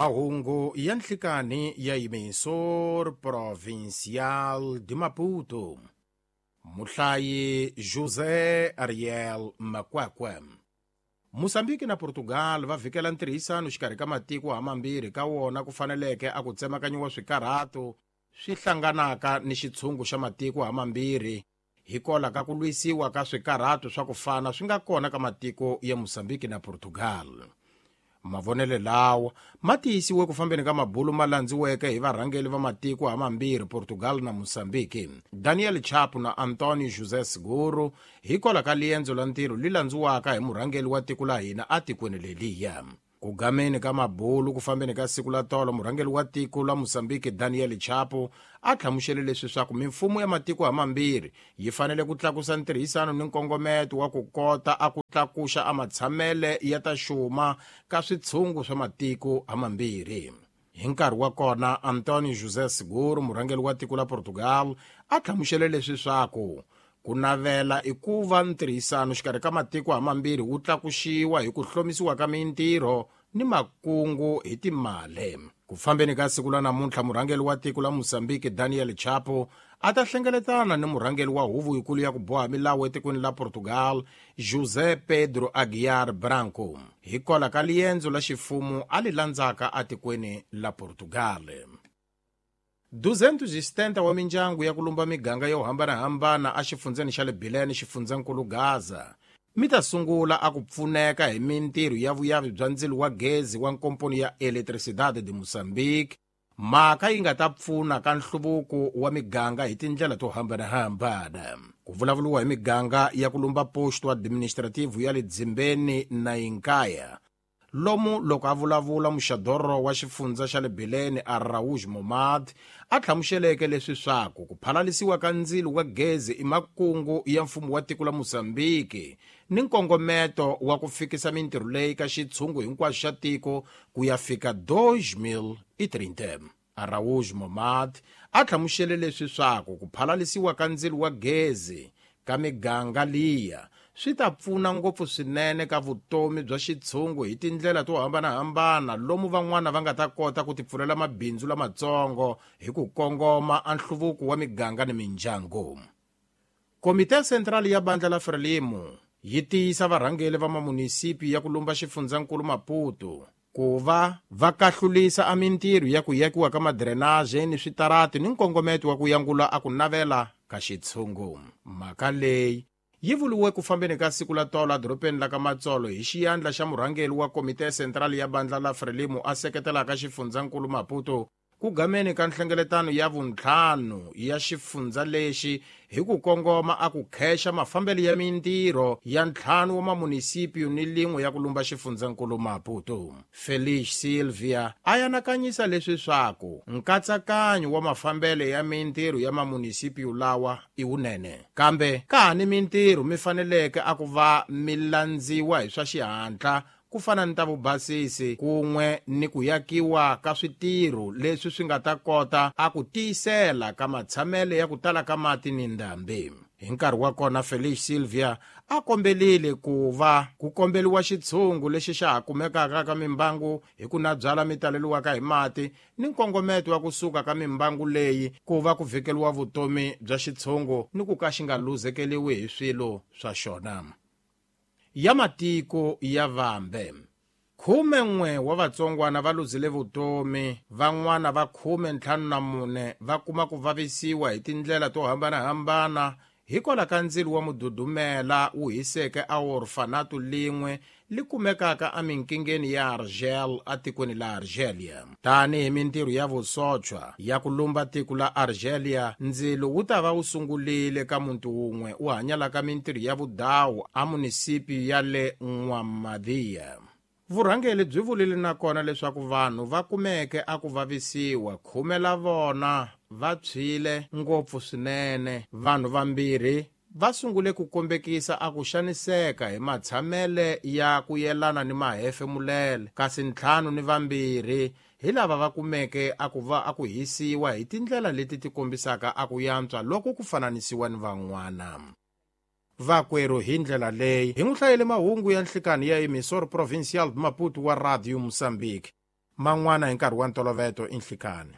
Mahungu ya nhlikani ya Emissor Provincial de Maputo. Muhlayi José Ariel Makwakwa. Mozambique na Portugal va vhikela ntirhisano xikarhi ka matiko hamambirhi ka wona ku faneleke a ku tsemakanyiwa swikarhato swi hlanganaka ni xitshungu xa matiko hamambirhi hikola ka ku lwisiwa ka swikarhato swa ku fana swi nga kona ka matiko ya Mozambique na Portugal. Mavonelo lawa ma tiyisiwe ku fambeni ka mabulu ma landziweke hi varhangeli va matiko hamambirhi Portugal na Mozambique, Daniel Chapo na Antonio José Seguro, hikwalaho ka liendzo la ntirho li landziwaka hi murhangeli wa tiko la hina atikweni leliya. Ku gameni ka mabulu ku fambeni ka siku la tolo, murhangeli wa tiko la Mozambique Daniel Chapo a hlamusele leswi swaku mimfumo ya matiko hamambirhi yi fanele ku tlakusa ntirhisano ni nkongometo wa ku kota a ku tlakuxa a matshamele ya ta xuma ka switshungu swa matiko hamambirhi. Hi nkarhi wa kona, Antonio José Seguro, murhangeli wa tiko la Portugal, a hlamusele leswi swaku ku navela i ku va ntirhisano xikarhi ka matiko hamambirhi wu tlakuxiwa hi ku hlomisiwa ka mintirho ni makungu hi timali. Ku fambeni ka siku la namuntlha, murhangeli wa tiko la Mozambique Daniel Chapo a ta hlengeletana ni murhangeli wa huvo yikulu ya ku boha milawu etikweni la Portugal José Pedro Aguiar Branco, hikwalaho ka liendzo la xifumu a li landzaka atikweni la Portugal. 270 wa mindyangu ya ku lumba miganga yo hambanahambana exifundzeni xa le Bilene, xifundzankulu Gaza, mi ta sungula a ku pfuneka hi mintirho ya vuyavi bya ndzilo wa gezi wa nkomponi ya Eletricidade de Moçambique, mhaka yi nga ta pfuna ka nhluvuko wa miganga hi tindlela to hambanahambana. Ku vulavuriwa hi miganga ya ku lumba posto administrativo ya le Dzimbeni na Inkaya. Lomu loko a vulavula, muxadoro wa xifundza xa le Bilene Araújo Momad a hlamuseleke leswi swaku ku phalalisiwa ka ndzilo wa gezi i makungu ya mfumo wa tiko la Mozambique ni nkongometo wa ku fikisa mintirho leyi ka xitshungu hinkwaxo xa tiko ku ya fika 2030. Araújo Momad a hlamusele leswi swaku ku phalalisiwa ka ndzilo wa gezi ka miganga liya swi ta pfuna ngopfu swinene ka vutomi bya xitshungu hi tindlela to hambanahambana, lomu van'wana va nga ta kota ku tipfulela mabindzu lamatsongo hi ku kongoma a nhluvuko wa miganga ni mindyangu. Komite Central ya Bandla la Frelimo yi tiyisa varhangeli va mamunisipi ya ku lumba xifundzankulu Maputo ku va va kahlulisa a mintirho ya ku yakiwa ka madrenage ni switarati ni nkongometo wa ku yangula a ku navela ka xitshungu. Mhaka leyi yi vuriwe ku fambeni ka siku la tolo edorobeni la ka Matsolo hi xiyandla xa murhangeri wa Komite Central ya Bandla la Frelimo a seketelaka xifundzankulu Maputo ku gameni ka nhlengeletano ya vuntlhanu ya xifundza lexi hi ku kongoma a ku khexa mafambelo ya mintirho ya ntlhanu wa mamunisipio ni lin'we ya ku lumba xifundzankulu Maputo. Felix Silvia a anakanyisa leswi swaku nkatsakanyo wa mafambelo ya mintirho ya mamunisipio lawa i wunene, kambe ka ha ni mintirho mi faneleke a ku va mi landziwa hi swa xihatla ku fana ni ta vubasisi kun'we ni ku yakiwa ka switirho leswi swi nga ta kota a ku tiyisela ka matshamelo ya ku tala ka mati ni ndhambi. Hi nkarhi wa kona, Felix Silvia a kombelile ku va ku kombeliwa xitshungu lexi xa ha kumekaka ka mimbangu hi ku na byala mi taleliwaka hi mati ni nkongometo wa kusuka ka mimbangu leyi ku va ku vhikeliwa vutomi bya xitshungu ni ku ka xi nga luzekeliwi hi swilo swa xona. Ya matiko ya vambe, 11 wa vatsongwana va luzile vutomi, van'wana va 54 va kuma ku vavisiwa hi tindlela to hambanahambana hikwalaho ka ndzilo wa mududumela wu hiseke a orfanato lin'we li kumekaka eminkingeni ya Argel atikweni la Argelia. Tanihi mintirho ya vusochwa ya ku lumba tiko la Argelia, ndzilo wu ta va wu sungulile ka muti wun'we wu hanyalaka mintirho ya vudawu a munisipi ya le N'wamadia. Vurhangeri byi vulile nakona leswaku vanhu va kumeke a ku vavisiwa, 10 la vona va tshwile ngopfu swinene. Vanhu vambirhi va sungule ku kombekisa a ku xaniseka hi matshamele ya ku yelana ni mahefemulele, kasi 52 hi lava va kumeke a ku va a ku hisiwa hi tindlela leti ti kombisaka a ku yantswa loko ku fananisiwa ni van'wana. Vakwerhu hi ndlela leyi hi n'wi hlayele mahungu ya nhlikani ya Emissor Provincial de Maputo wa Radio Mozambique. Man'wana hi nkarhi wa ntoloveto i nhlikani.